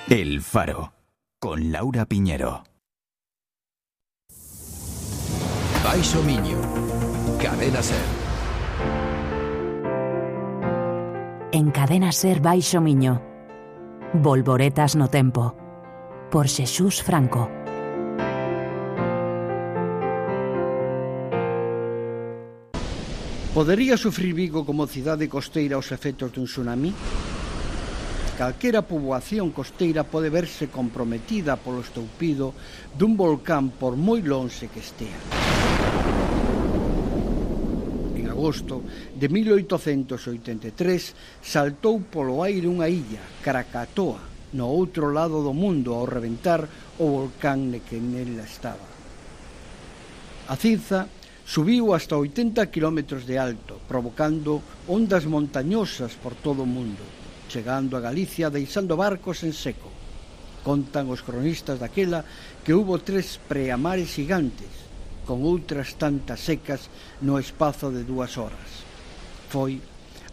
El Faro, con Laura Piñero. Baixo Miño, Cadena Ser. En Cadena Ser Baixo Miño, Volvoretas no tempo, por Xesús Franco. Podería sufrir Vigo como cidade costeira os efectos dun tsunami? Calquera poboación costeira pode verse comprometida polo estoupido dun volcán por moi lonxe que estea. En agosto de 1883 saltou polo aire unha illa, Krakatoa, no outro lado do mundo ao reventar o volcán que nela estaba. A cinza subiu hasta 80 km de alto, provocando ondas montañosas por todo o mundo, chegando a Galicia deixando barcos en seco. Contan os cronistas daquela que hubo 3 preamares gigantes, con outras tantas secas no espazo de 2 horas. Foi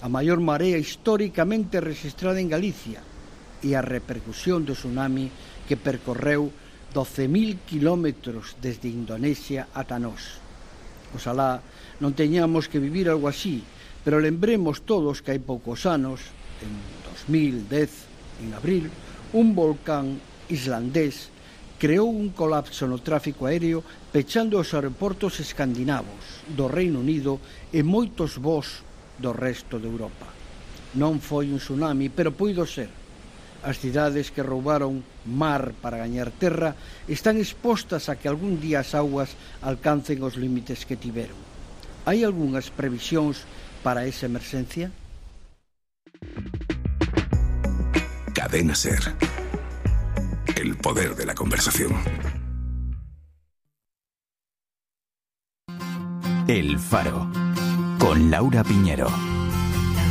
a maior marea históricamente registrada en Galicia e a repercusión do tsunami que percorreu 12.000 kilómetros desde Indonesia ata nós. Oxalá non teñamos que vivir algo así, pero lembremos todos que hai poucos anos, en 2010, en abril, un volcán islandés creou un colapso no tráfico aéreo pechando os aeroportos escandinavos do Reino Unido e moitos voos do resto de Europa. Non foi un tsunami, pero puido ser. As cidades que roubaron mar para gañar terra están expostas a que algún día as augas alcancen os límites que tiveron. Hai algunhas previsións para esa emerxencia? Cadena Ser. El poder de la conversación. El Faro, con Laura Piñero.